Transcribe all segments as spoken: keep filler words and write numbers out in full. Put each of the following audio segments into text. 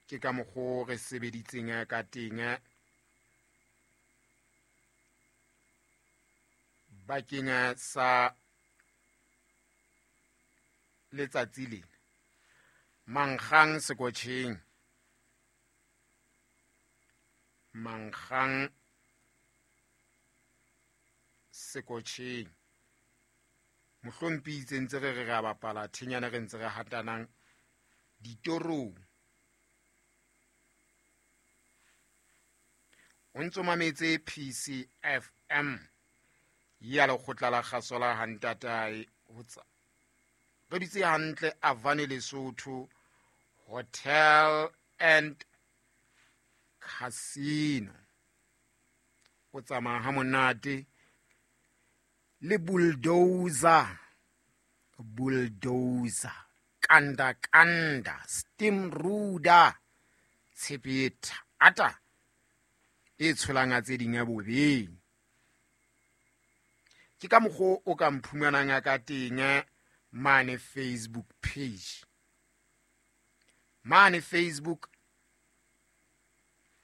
Ke ka mokgo re sebeditseng ka teng bakeng sa letsatsi lena. Mankgang sekotjheng, mankgang sekotjheng. Mohlomphi itse ntse re re re a bapala thinyana re ntse re hatanang ditorong. O ntso mametse P C F M ya lekgotla la kgaso la Hantatae ho tsa re dutse hantle Avane Lesotho Hotel and Casino. O tsamaya ha monate le bulldozer, bulldozer, kanda kanda, steam ruda, tshepe thata e tsholang a tse ding ya bobeng. Ke ka mokgo o ka mphumanang ka teng mane Facebook page. Mane Facebook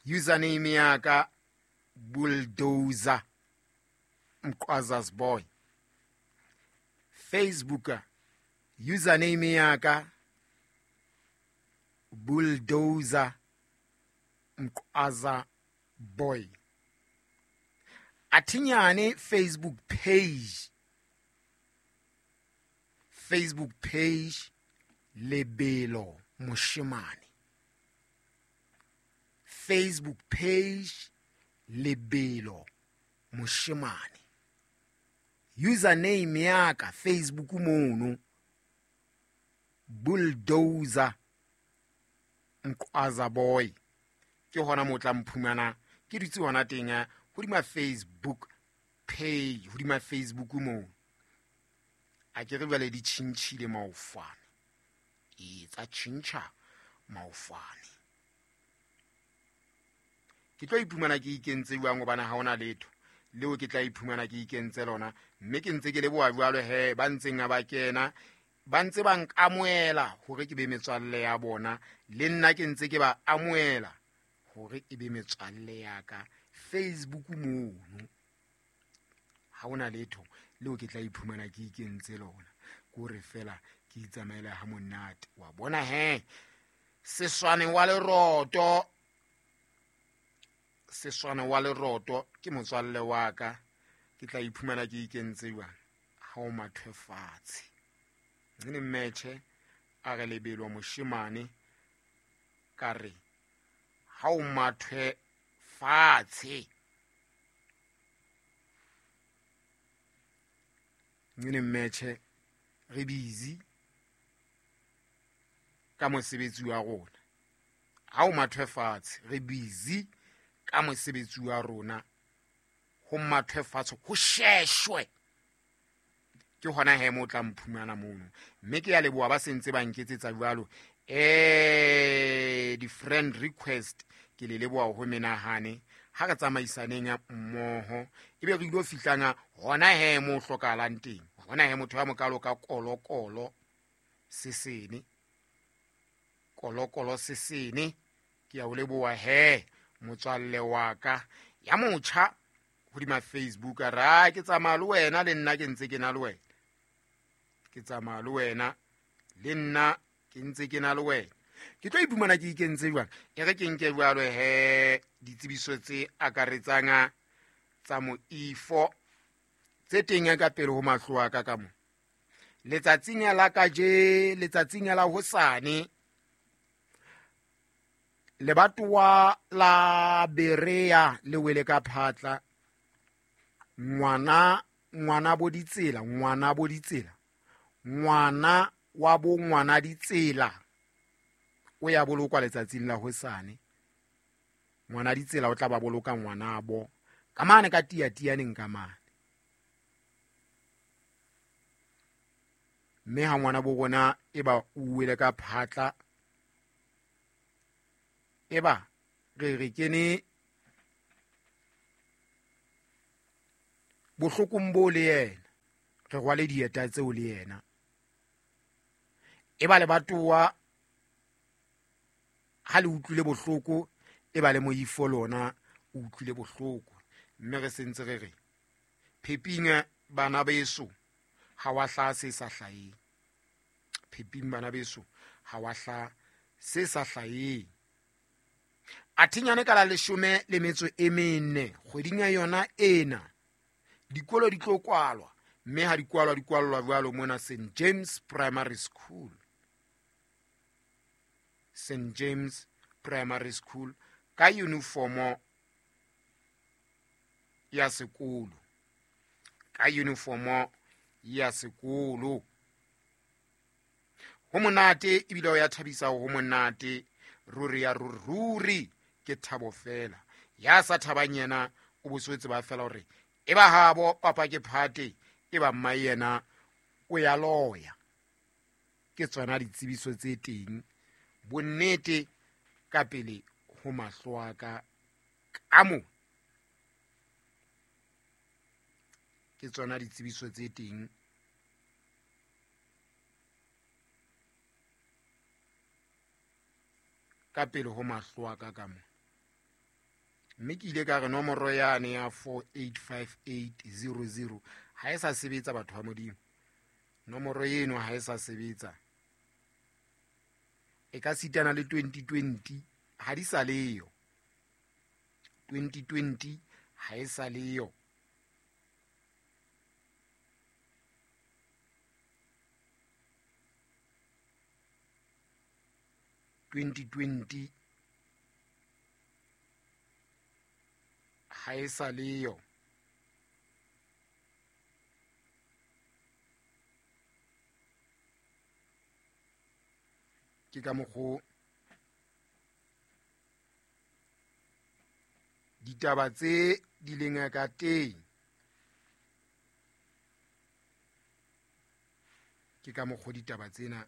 username ya ka Bulldozer Mqwaza's boy. Facebook username ya ka Bulldozer Mqwaza boy. Athinyane Facebook page, Facebook page Lebelo Moshemane. Facebook page Lebelo Moshemane. Username ya ka Facebook mono Bulldozer Mqwaza boy. Ke hona mo tla mphumana ke dutse hona teng hodima Facebook page, hodima Facebook mo. A ke re jwale di tjhintjhile maofane. E tsa tjhintjha maofane. Ke tlo iphumana ke ikentse jwang hobane ha hona letho leo ke tla iphumana ke ikentse lona, mme ke ntse ke leboha jwalo he ba ntseng ba kena ba ntse ba nkamoela hore ke be metswalle ya bona, le nna ke ntse ke ba amoela hore e be metswalle ya ka Facebook mono. Ha hona letho leo ke tla iphumana ke ikentse lona, ke hore fela ke itsamaela ha monate. Wa bona he seswane wa leroto, seswane wa leroto ke motswalle wa ka, ke tla iphumana ke ikentse jwang ha o mathwe fatshe. Nne mmetjhe a re Lebelo Moshemane, ka re ha o mathwe fatshe. Nne mmetjhe re busy ka mosebetsi wa rona. Ha o mathwe fatshe re busy ka mosebetsi wa rona, ho mathwe fatshe ho sheshwe. Ke hona he mo tla mphumana mono, mme ke ya leboha ba sentse ba nketsetsa jwalo. Eh, di friend request ke le leboha ho menahane ha re tsamaisaneng mmoho, ebe re ilo fihlanga hona he mo hlokahalang teng. Hona he motho ya mokalo ka kolokolo sesene, kolokolo sesene. Ke ya o leboha he motswalle wa ka ya motjha hodima Facebook. A ra ke tsamaya le wena, le nna ke ntse ke na le wena, ke tsamaya le wena, le nna ke ntse ke na le wena. Ke tlo iphumana ke ikentse jwang? E re ke nke jwalo he ditsebiso tse akaretsang tsa moifo tse teng ka pele ho mahlo a ka ka mo. Letsatsing la kaje, letsatsing la hosane, lebatowa la Berea le wele ka phatla. Ngwana, ngwana bo ditsela, ngwana bo ditsela, ngwana wa bo ngwana ditsela o ya bolokwa letsatsing la hosane. Ngwana ditsela o tla ba boloka ngwana bo ka mane ka tia tianeng ka mane. Mme ha ngwana bo rona e ba o wele ka phatla, e ba re re kene bohlokong bo le yena, re rwale dieta tseo le yena. E ba lebatowa Ha le utlwile bohloko e ba le moifo lona o utlwile bohloko. Mme re sentse re re pheping bana beso ha wa hla se sa hlaheng. Pheping bana beso ha wa hla se sa hlaheng. Athinyane ka la leshome le metso e mene kgweding ya yona ena dikolo di tlo kwalwa, mme ha di kwalwa di kwallwa jwalo mona Saint James Primary School. Saint James Primary School ka uniformo ya sekolo, ka uniformo ya sekolo. Ho monate ebile o ya thabisa, ho monate ruri ya ruri, ke thabo fela. Ya sa thabang yena o boswetse ba fela hore e ba habo papa ke phate, e ba mma yena o ya loya. Ke tsona ditsebiso tse teng bonnete ka pele ho mahlo a ka ka mo. Ke tsona ditsebiso tse teng ka pele ho mahlo a ka ka mo. Mme ke ile ka re nomoro yane ya four eight five eight zero zero ha e sa sebetsa batho ba Modimo. Nomoro eno ha e sa sebetsa. E ka sitana le twenty twenty ha di sa leyo. twenty twenty ha e sa leyo. twenty twenty ha e sa leyo. Ke ka mokgo ditaba tse di leng ka teng. Ke ka mokgo ditaba tsena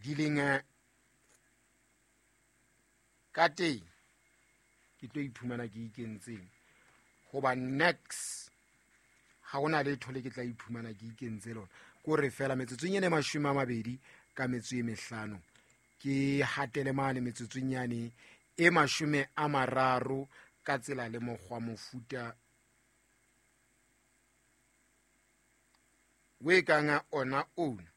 di leng ka teng. Ke tlo iphumana ke ikentseng hoba next ha hona letho le ke tla iphumana ke ikentse lona. Ko re fela metsotsong ene mashome a mabedi ka metso e mehlano ke hatele mane metsotsong yane e mashome a mararo ka tsela le mokgwa mofuta we kanga ona ona.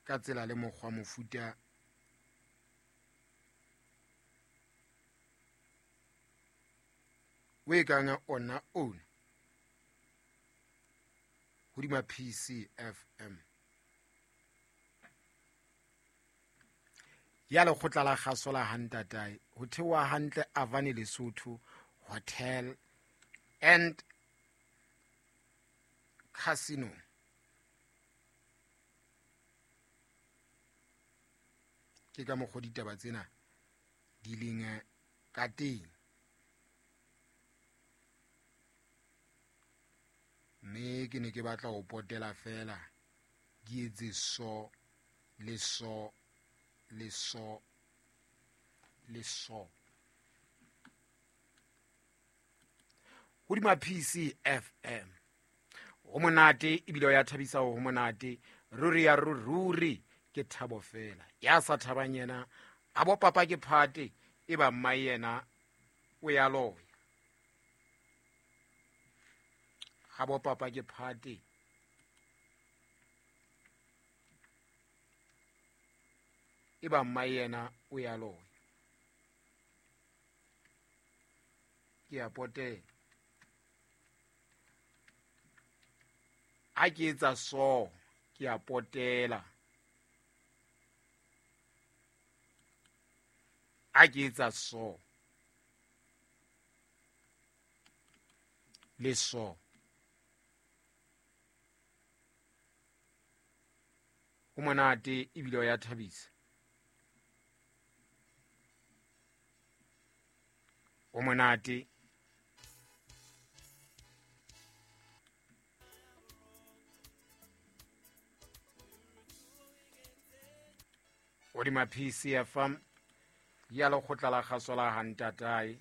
Ka tsela le mokgwa mofuta we kanga ona ona hodima P C F M ya lekgotla la kgaso la Hantatae ho theoha hantle Avani Lesotho Hotel and Casino. Ke ka mokgwa ditaba tsena di leng ka teng. Mme ke ne ke batla ho potela fela ke etse so le so le so le so hodima P C F M. Ho monate ebile o ya thabisa, ho monate ruri ya ruri, ke thabo fela. Ya sa thabang yena a bo papa ke phate, e ba mma yena o ya loya. Ha bo papa ke phate e ba mma yena o ya loya. Ke a potela ha ke etsa so, ke a potela ha ke etsa so le so. Ho monate ebile o ya thabisa. Ho monate. Hodima P C F M ya lekgotla la kgaso la Hantatae.